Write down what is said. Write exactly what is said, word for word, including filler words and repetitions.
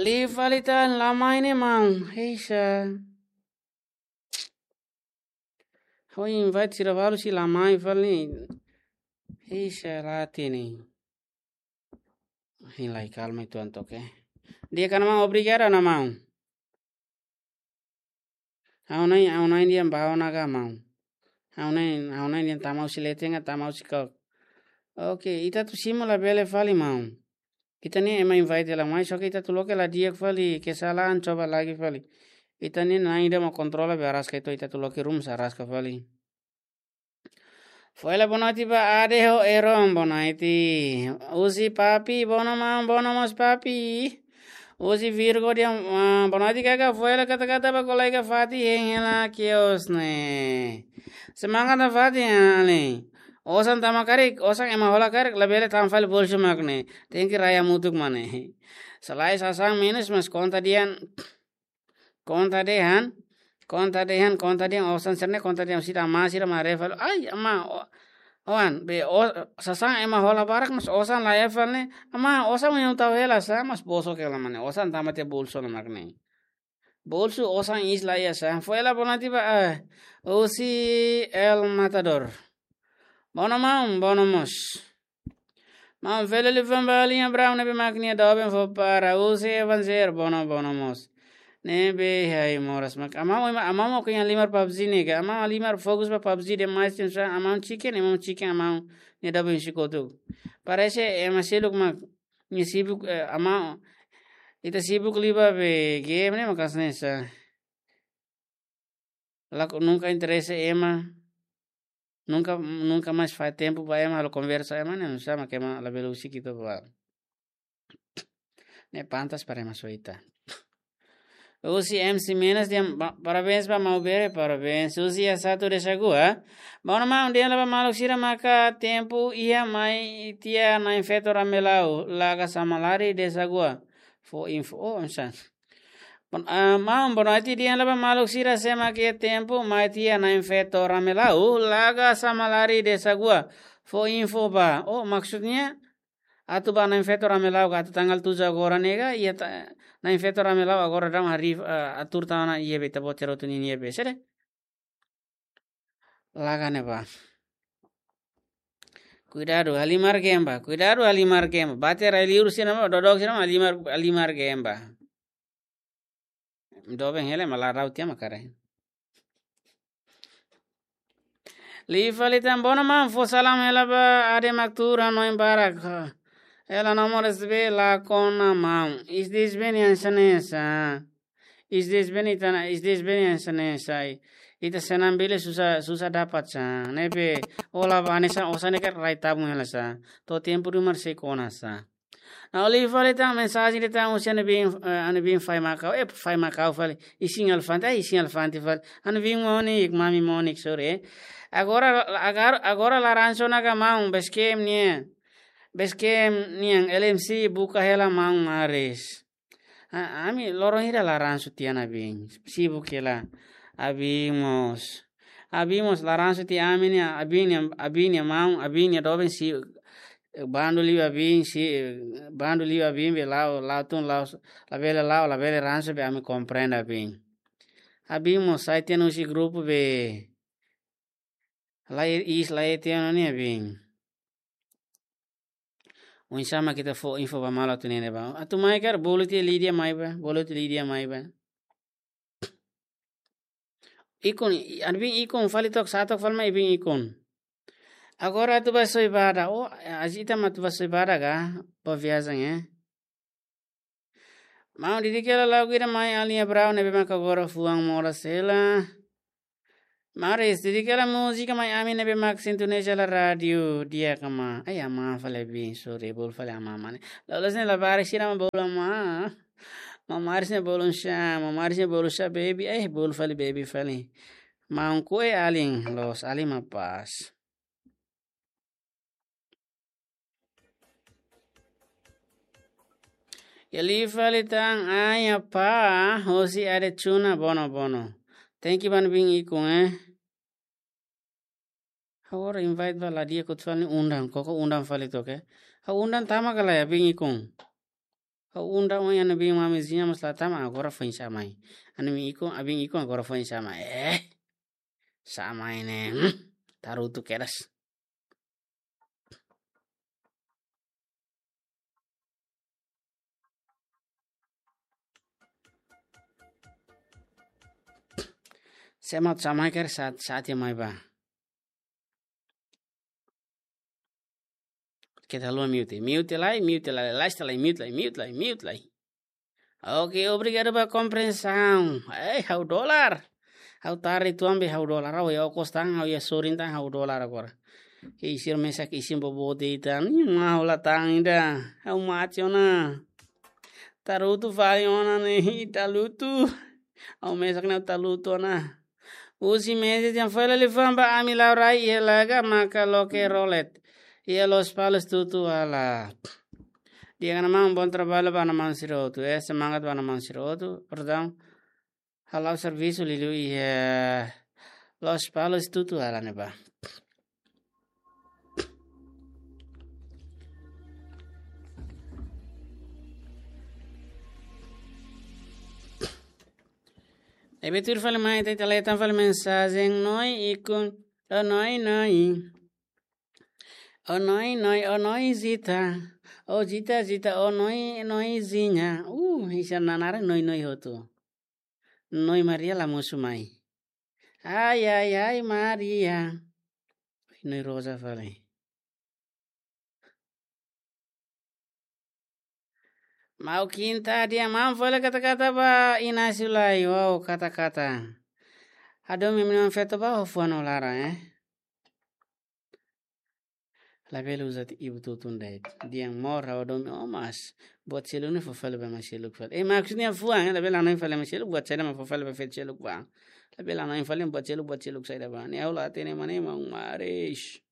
Liu fali tan, la mai ne'e maun. Heisa. Ha'u invite sira balu sei la mai fali. Heisa, la hatene. Hein lai kalma uitoan took, eh. Di'ak ka maun, obrigadu ona maun. Ha'u-na'in, ha'u-na'in dehan bá ona ka maun. Ha'u-na'in, ha'u-na'in dehan tama husi leten ka tama husi kok. Oke, ita atu simu labele fali maun. Ita-nia ema invite la mai, só ke ita atu loke la di'ak fali, kesalahan coba lagi fali. Ita-nia na'in ida mak kontrola be araska, ita atu loke ruma sei araska fali. Fo'ela, boa noite ba Ade ho Eron, boa noite. Husi Papi, boa noite maun, boa noite mós Papi. Husi Virgo dehan, ah, boa noite kaka, fo'ela katak ita-boot kolega Fati hein hela kios ne'e. Semangat ona Fati, ah, ne'e. Osan tama karik, osan ema hola karik, labele tama fali bolsu mak ne'e. Tenke rai hamutuk mak ne'e. Se lae sasán menus, mas konta dehan, konta dehan, konta dehan, konta dehan, osan sira-ne'e konta dehan, sira amá, sira maré fali. Ai, amá, o-, oan, be, o-, sasán ema hola barak, mas osan la iha fali ne'e. Amá, osan mak tau hela sá, mas bosok hela mak ne'e. Osan tama tiha bolsu ona mak ne'e. Bolsu osan iis la iha sá. Fo'ela, boa noite ba, ah, husi El Matador. Boa noite maun, boa noite mós. Maun Feli liu fali ba Alinha Brown ne'ebé mak nia doben fó para husi Evanzer, boa noite, boa noite mós. Ne'ebé iha ai moras mak. Amá, amá, amá mak iha halimar PUBG ne'e ka. Amá halimar fokus ba PUBG demais, tem sá, amá chicken, amá chicken, amá nia doben husi kotuk. Parese ema seluk mak nia sibuk, eh, amá, ita sibuk liu ba be game ne'e maka'as ne'e sá. La ko-, nunka interese ema, nunka, nunka mais fai tempu ba ema, halo konversa ema, ne'e nu'usá mak ema labele husik ita ba. Ne'e pantas para ema soita. Husi M C Menas dehan ba-, parabéns ba Maubere, parabéns. Husi Asatu Desagua. Boa noite maun, dehan lai ba maluk sira maka tempu iha mai tiha na'in feto Ramelau, Laga Samalari Desagua. Fó info, oh, oinsá. Bon-, ah, maun, boa noite, dehan lai ba maluk sira se mak iha tempu mai tiha na'in feto Ramelau, Laga Samalari Desagua. Fó info ba. Oh, maksudnya, atu ba na'in feto Ramelau ka atu tanggal tujuh agora ne'e ka, iha ta-, na'in feto Ramelau agora daudaun hari, eh, atur tan ona iha be ita-boot sira hotu ninia be. Sede? Laga ne'e ba. Kuidadu, halimar game ba. Kuidadu, halimar game ba. Bate rai liur sira mak, dodok sira mak, halimar, halimar game ba. Doben hela mak la rau tiha mak karik. Liu fali tan, boa noite maun, fó salam hela ba Ade mak tuur hanoin barak. Hela nomor S B la kona maun. Isdis beni ansanesa. Isdis beni tana, isdis beni ansanesa. Ita senam bele susah, susah dapat sá. Ne'ebé, ola ba hanesan osan ne'e karik rai tabun hela sá. To'o tempu ruma sei kona sá. Ha'u liu fali tan mensajen de'it tan husi ami biin, eh, ami biin Fai Makau, eh, Fai Makau fali. Isin Elefante, eh, Isin Elefante fali. Ami biin Monik, mami Monik, sorry, eh. Agora, agora, agora la ransu ona ka maun, Basecamp nian. Basecamp nian, L M C buka hela maun maris. A-, ami loron hira la ransu tiha ami biin. Sibuk hela. Ami biin mós. Ami biin mós la ransu tiha ami-nia, ami biin nia, ami biin nia maun, ami biin nia doben sei bandu liu ami biin sei, bandu liu ami biin be la'o, la'o tun la'o, labele la'o, labele ransu be ami komprende ami biin. Ami biin mós sai tiha ona husi grupu be la iis la iha tiha ona ne'e ami biin. Oinsá mak ita fó info ba malu atu ne'e ne'ebá. Atu mai karik bolu tiha Lídia mai ba, bolu tiha Lídia mai ba. Ikun, ami biin ikun fali took, sá took fali mai biin ikun. Agora atu ba Soibada. Oh, azi ita mak atu ba Soibada ka? Ba viajen, eh. Maun, dedika hela lagu ida mai Alinha Brown ne'ebé maka agora fuan moras hela. Maris, dedika hela múzika mai ami ne'ebé maka sintoniza hela rádiu di'ak ka maun. Ai, amá fali biin, sorry, bolu fali amá mak ne'e. Loloos ne'e labarik sira mak bolu amá. Maun Maris ne'e bolu sá, maun Maris ne'e bolu sá, baby, eh, bolu fali baby fali. Maun, kue alin, loos, alin mak pas. Iha liu fali tan, ai apá, hosi Ade Chuna, bono, bono. Thank you ba ami biin ikun, eh. Agora invite ba la di'ak, kutu fali undang, koko undang fali took, eh. Ha'u undang tama ka lae ami biin ikun. Ha'u unda oin ami-nia biin mama Zinha mós la tama, agora foin sa'e mai. Ami-nia biin ikun, ami-nia biin ikun agora foin sa'e mai. Eh, sa'e mai ne'e. Hmm, tarutu kedas. Sé mak sa'e mai karik sa'e, sa'e tiha mai bá. Keta haluha mute. Mute lai, mute lai, lais lai, mute lai, mute lai, mute lai. Oke, obrigadu ba komprensaun. Eh, ha'u dolar. Ha'u tari tuan be ha'u dolar. Ha'u iha okos tan, ha'u iha sorin tan, ha'u dolar agora. Ke isir mesak isin bobote tan. Ih, mau la tan ida. Ha'u mate ona. Tarutu fali ona ne'e, ita lutu. Ha'u mesak ne'e tarutu ona. Husi meses yang fala li famba ami lau rai iha laga maka loke rolet. Iha Lospalos tutu ala. Di'ak ona maun, bom trabalho ba maun sira hotu. Eh, semangat ba maun sira hotu. Perdão. Halo servisu liuliu iha Lospalos tutu ala ne'ebá. Ne'ebé tuir fali mai, ita, ita lee tan fali mensajen, noi ikun, oh noi noi. Oh noi noi, oh noi Zita. Oh Zita, Zita, oh noi, noi Zinha. Uh, isin naran noi noi hotu. Noi Maria la mosu mai. Ai, ai, ai, Maria. Noi Rosa fali. Mau kinta dia mam fali kata-kata ba Inácio lai, wow, kata-kata. Hadomi ami-nia feto ba ho fuan ho laran, eh. Labele uza ti ibu tutun dai. Di'ak mós ha'u hadomi ó mas. Buat seluk ne'e fó fali ba ema seluk fali. Eh, maksudnya fuan, eh, labele hanoin fali ema seluk, buat saida mak fó fali ba feto seluk bá. Labele hanoin fali buat seluk, buat seluk saida bá. Ne'e ha'u la hatene ema ne'e maun maris.